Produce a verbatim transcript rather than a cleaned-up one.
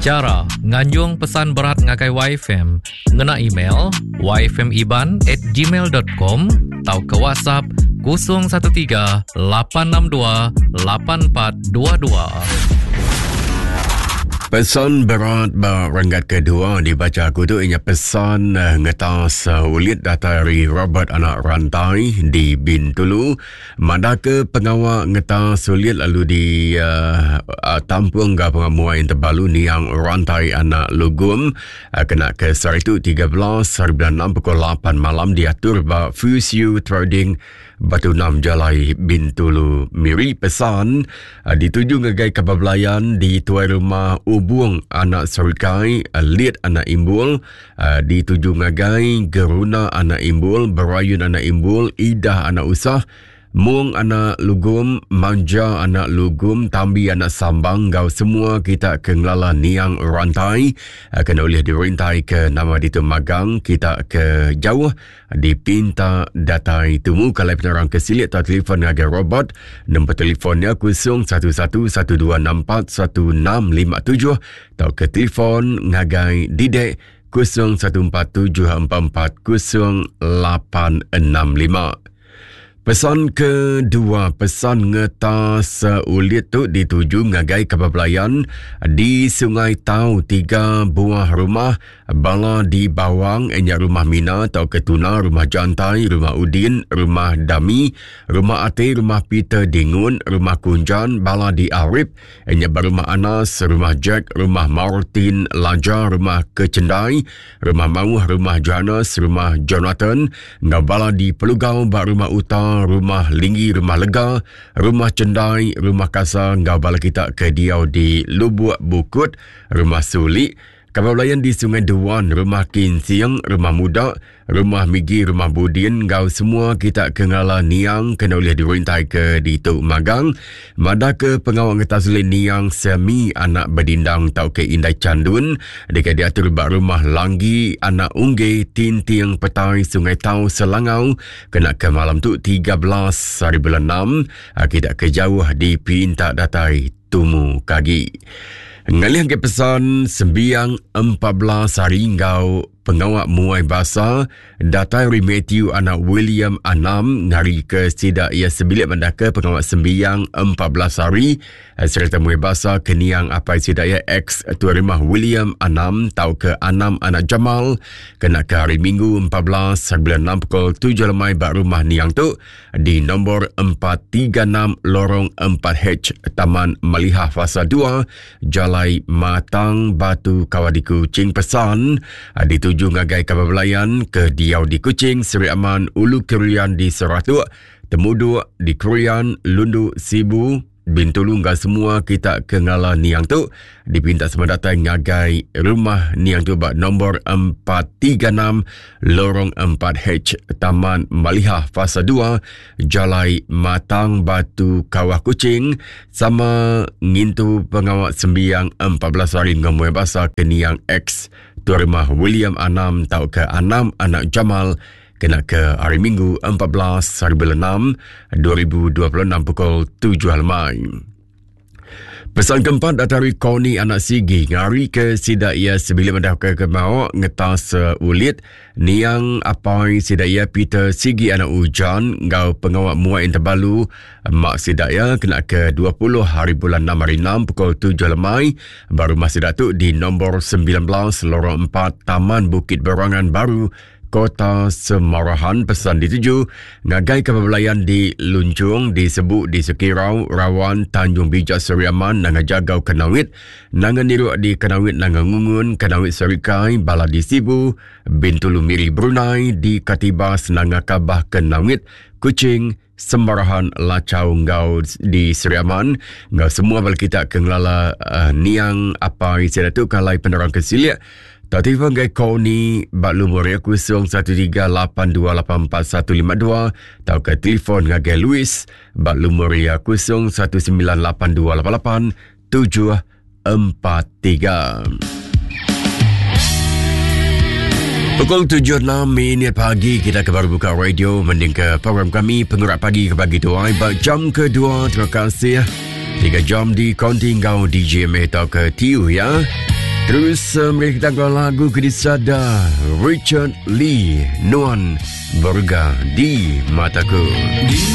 Cara nganjung pesan berat ngagai Y F M ngena email y f m iban at gmail dot com atau ke WhatsApp kosong satu tiga lapan enam dua lapan empat dua dua. Pesan berat berenggat kedua dibaca aku tu ianya pesan uh, ngetas uh, ulit data dari Robert anak rantai di Bintulu. Madaka pengawa ngetas ulit lalu di uh, uh, tampung ke pengamuan yang terbalu niang rantai anak lugum uh, kena ke sehari tu tiga belas hari bulan enam pukul lapan malam diatur ba Fusiu Trading Batu Enam Jalai Bintulu Miri. Pesan uh, dituju ngagai kebablayan di tuai rumah Ubung anak Serikai, uh, Liet anak Imbul, uh, dituju ngagai Geruna anak Imbul, Berayun anak Imbul, Idah anak Usah, Mung anak Lugum, Manja anak Lugum, Tambi anak Sambang, gau semua kita ke ngelala niang rantai kena oleh dirintai ke nama ditu magang kita ke jauh dipinta datai tumu. Kalau penerang ke silik atau telefon ngagai Robert, nombor telefonnya kosong satu satu satu dua enam empat satu enam lima tujuh atau ke telefon ngagai Didek kosong satu empat tujuh empat empat kosong lapan enam lima. Pesan kedua, pesan ngetas ulit tu dituju ngagai kebablayan di Sungai Tau, tiga buah rumah bala di Bawang, enyak rumah Mina atau Ketuna, rumah Jantai, rumah Udin, rumah Dami, rumah Ate, rumah Peter Dingun, rumah Kunjan, bala di Arif, enyak rumah Anas, rumah Jack, rumah Martin Laja, rumah Kecendai, rumah Mauh, rumah Johannes, rumah Jonathan, ngau bala di Pelugau, bak rumah Uta, rumah Linggi, rumah Lega, rumah Cendai, rumah Kasa, ngau bala kita ke diau di Lubuk Bukut, rumah Sulik, kapal belayan di Sungai Duan, rumah Kinsiang, rumah Muda, rumah Migi, rumah Budin, ngau semua kita ke ngala niang kena oleh dirintai ke di Tuk Magang. Mada ke pengawal ngetas oleh niang Semi anak Bedindang tau ke Indai Candun, dekat diatur bak rumah Langgi anak Ungge Tinting Petai Sungai Tau Selangau, kena ke malam tu tiga belas hari bulan enam, kita ke jauh dipinta datai tumu kagi. Ngalih ke pesan sembiang empat belas hari ngau pengawak muai basa datai ri Matthew anak William Anam ngari ke sidak ia sebilik mendaka pengawak sembiang empat belas hari serta muai basa keniang apai sidak ia ex tuan rumah William Anam tau ke Anam anak Jamal kena ke hari Minggu empat belas bulan enam pukul tujuh lemai bak rumah niang tu di nombor empat tiga enam Lorong empat H Taman Malihah Fasa dua Jalai Matang Batu Kawadi Kuching. Pesan dituju tuju ngagai kapal belayan ke Diau di Kuching, Seri Aman, Ulu Kerian di Seratuk, Temuduk di Krian, Lundu, Sibu, Bintulu, ngah semua kita ke ngala niang tu dipinta semua datang ngagai rumah niang tu bak nombor empat tiga enam Lorong empat H Taman Malihah Fasa dua Jalai Matang Batu Kawah Kuching sama ngintu pengawak sembiang empat belas hari ngomong bahasa ke niang ex tuan rumah William Anam tau ke Anam anak Jamal kena ke hari Minggu empat belas hari bulan enam dua ribu dua puluh enam pukul tujuh lemai. Pesan keempat dari Koni anak Sigi ngari ke sidak ia sebila mendah ke kemau ngetas uh, ulit niang apai sidak ia Peter Sigi anak Ujan ngau pengawak muai terbalu mak sidak ia kena ke dua puluh hari bulan enam hari enam pukul tujuh lemai baru masih datuk di nombor sembilan belas Lorong empat Taman Bukit Berangan Baru Kota Semarahan. Pesan dituju ngagai kebelayan di Luncung, di Sebuk, di Sekirau, Rawan, Tanjung Bijak, Seri Aman, Nanga Jagau, Kenawit, Nanga Niruk di Kenawit, Nanga Ngungun, Kenawit Serikai, Bala di Sibu, Bintulu Miri Brunei, di Katibas, Nanga Kabah, Kenawit, Kuching, Semarahan, Lacau, Ngau di Seri Aman. Ngau semua bala kita ke ngelala uh, niang apa isi tu kalai penerang kesiliak. Tak telefon gai Koni bak lumur ya kosong satu tiga lapan dua lapan empat satu lima dua atau ke telefon ngagai Louis bak lumur ya kosong satu sembilan lapan dua lapan lapan tujuh empat tiga. Pukul tujuh enam minit pagi kita ke baru buka radio mending ke program kami Pengerak Pagi ke pagi tuai bak jam kedua. Terima kasih. Tiga jam di konti ngau D J M atau ke T U ya. Terus uh, mereka kita lagu ke disada Richard Lee, Nuan Berega di Mataku. Di